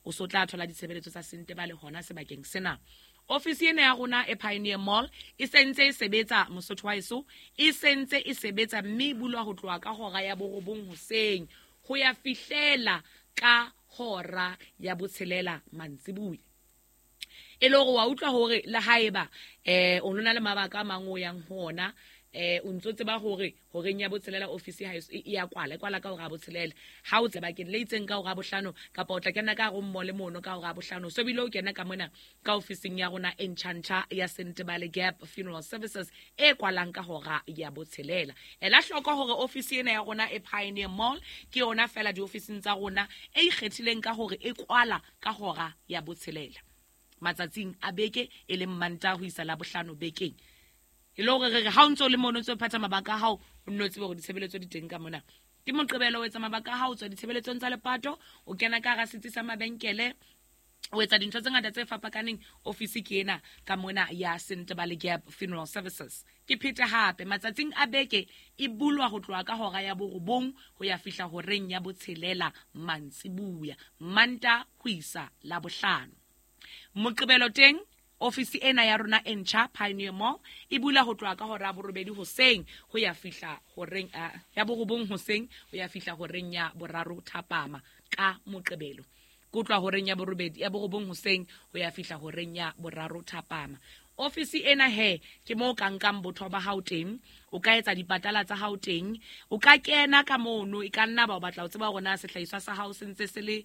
O so tla thola ditshebeletso tsa Sentebale hona sebakeng sena. Ofisi ena ya rona e Pioneer Mall e sentse e sebetsa, Mosotho wa heso, e sentse e sebetsa, mme e bulwa ho tloha ka hora ya 9 hoseng ho ya fihlela ka hora ya 6 mantsibuya. E le hore wa utlwa hore le haeba o nona le mabaka a mang o yang ho ona, o ntso tseba hore horeng ya 6 ofisi ha e ya kwala, e kwala ka hora ya 6. Ha o tsebakeng le itseng ka hora ya 5, kapa o tla kena ka hare mall mono ka hora ya 5, so bile o kena ka mona ka ofising ya rona e ntjhantjha ya Sentebale Gap Funeral Services e kwalang ka hora ya 6. Ela hloko hore ofisi ena ya rona e Pioneer Mall ke yona fela diofising tsa rona e ikgethileng ka hore e kwala ka hora ya 6 matsatsing a beke, e leng Mantaha ho isa Labohlano bekeng. E le hore re re ha o ntso le mono, o ntso phatha mabaka a hao, o nno tsebe hore ditshebeletso di teng ka mona. Ke Moqebelo, o etsa mabaka a hao, o tswa ditshebeletsong tsa lepato, o kena ka hara setsi sa mabenkele, o etsa dintho tse ngata tse fapakaneng. Ofisi ke ena ka mona ya Sentebale Gap Funeral Services. Ke phete hape, matsatsing a beke e bulwa ho tloha ka hora ya 9 ho ya fihla horeng ya 6 mantsibuya, Mantaha ho isa Labohlano. Moqebelo teng ofisi ena ya rona e ntjha Pioneer Mall e bula ho tloha ka hora ya 8 hoseng ho ya fihla horeng ya 9 hoseng ho ya fihla horeng ya 3 thapama ka Moqebelo. Ke utlwa horeng ya 8, ya 9 hoseng ho ya fihla horeng ya 3 thapama. Ofisi ena he ke mo ka nkang botho ba hao teng, o ka etsa dipatala tsa hao teng, o ka kena ka mono, e ka nna ba o batla ho tseba hore na sehlahiswa sa hao se ntse se le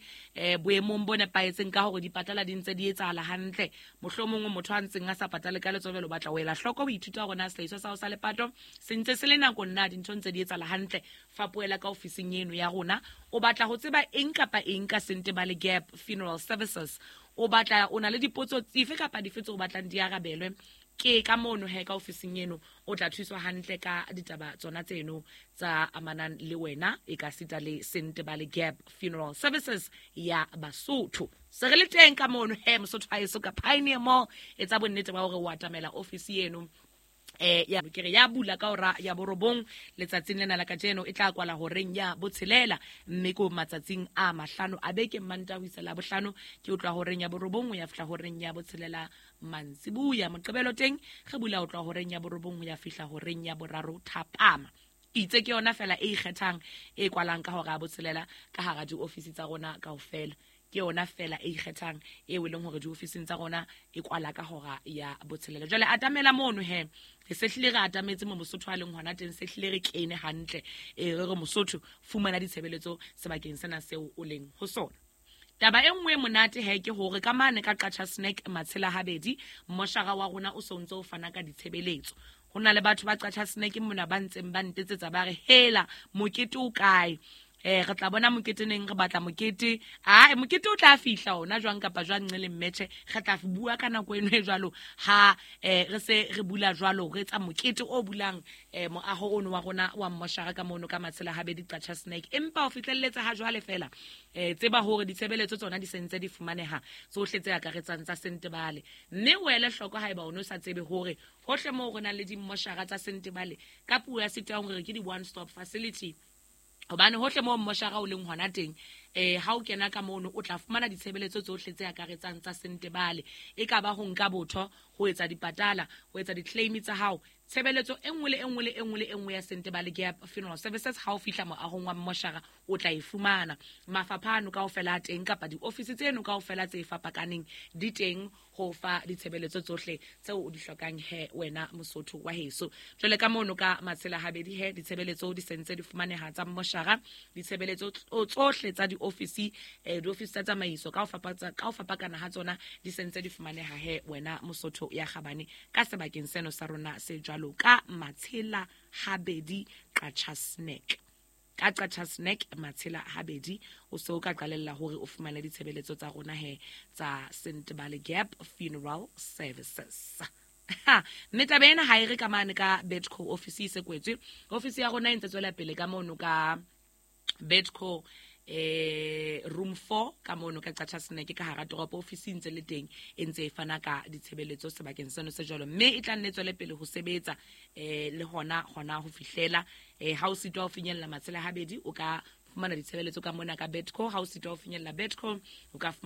boemong bo nepahetseng ka hore dipatala di ntse di etsahala hantle. Mohlomong motho a ntseng a sa patale ka letswebelo, o batla ho ela hloko ho ithuta hore na sehlahiswa sa hao sa lepato se ntse se le nakong na dintho ntse di etsahala hantle. Fapohela ka ofising eno ya rona. O batla ho tseba eng kapa eng ka Sentebale Gap Funeral Services, o batla, o na le dipotso dife kapa dife tseo o batlang di arabelwe, ke ka mono he ka ofising eno o tla thuswa hantle ka ditaba tsona tseno tsa amanang le wena, e ka sita le Sentebale Gap Funeral Services ya Basotho. Se re le teng ka mono he Mosotho haeso ka Pioneer Mall. Etsa bonnete ba hore o atamela ofisi eno. Ya ke re ya bula ka hora ya 9 letsatsing lena la kajeno, e tla kwala horeng ya 6, mme ko matsatsing a 5 a beke, Mantaha ho isa Labohlano, ke utlwa horeng ya 9 ho ya fihla horeng ya 6 mantsibuya. Moqebelo teng re bula ho tloha horeng ya 9 ho ya fihla horeng ya 3 thapama. Itse ke yona fela e ikgethang e kwalang ka hora ya 6 ka hara diofisi tsa rona kaofela. Ke yona fela e ikgethang eo e leng hore diofising tsa rona e kwala ka hora ya 6. Jwale atamela mono he, re se hlile re atametse mo Mosotho a leng hona teng, se hlile re kene hantle. Re re Mosotho, fumana ditshebeletso sebakeng sena seo o leng ho sona. Taba e nngwe e monate he ke hore ka mane ka Qacha Snack Matshela Habedi, moshara wa rona o so ntse o fana ka ditshebeletso. Ho na le batho ba Qacha Snack mona ba ntseng ba ntetsetsa ba re hela mokete o kae? Re tla bona mokete neng, re batla mokete. Mokete o tla fihla ona jwang kapa jwang nqe le mmetjhe, re tla bua ka nako eno e jwalo ha re se re bula jwalo, re etsa mokete o bulang moaho ono wa rona wa mmoshara ka mono ka Matshela Habedi Qacha Snack. Empa ho fihlelletse ha jwale fela, tseba hore ditshebeletso tsona di sentse di fumaneha tsohle tse akaretsang tsa Sentebale. Mme o ele hloko haeba o no sa tsebe hore hohle moo re nang le dimmoshara tsa Sentebale, ka puo ya Setswana hore ke di one stop facility, hobane hohle moo mmoshara o leng hona teng, ha o kena ka mono o tla fumana ditshebeletso tsohle tse akaretsang tsa Sentebale. E ka ba ho nka botho, ho etsa dipatala, ho etsa di-claim tsa hao, tshebeletso e nngwe le e nngwe le e nngwe le e nngwe ya Sentebale Gap Funeral Services. Ha o fihla moahong wa mmoshara o tla e fumana. Mafapha ano kaofela a teng, kapa diofisi tseno kaofela tse fapakaneng di teng ho fa ditshebeletso tsohle tseo o di hlokang he wena Mosotho wa heso. Jwale ka mono ka Matshela Habedi he ditshebeletso di sentse di fumaneha tsa mmoshara, ditshebeletso tsohle tsa diofisi, diofisi tsa tsamaiso ka ho fapakana ha tsona di sentse di fumaneha he wena Mosotho ya kgabane ka sebakeng seno sa rona se jwalo ka Matshela Habedi Qacha Snack. Ka Qacha Snack Matshela Habedi o se o ka qalella hore o fumane ditshebeletso tsa rona he tsa Sentebale Gap Funeral Services. Mme taba ena ha e re ka mane ka Betco office e se kwetswe. Office ya rona e ntse tswela pele ka mono ka Betco room 4 ka mono ka Qacha Snack ka hara toropo. Office e ntse le teng e ntse e fana ka ditshebeletso sebakeng seno se jwalo, mme e tla nne tswele pele ho sebetsa le hona ho fihlela ha o sitwa ho finyella Matshela Habedi o ka fumana ditshebeletso ka mona ka Betco. Ha o sitwa ho finyella Betco o ka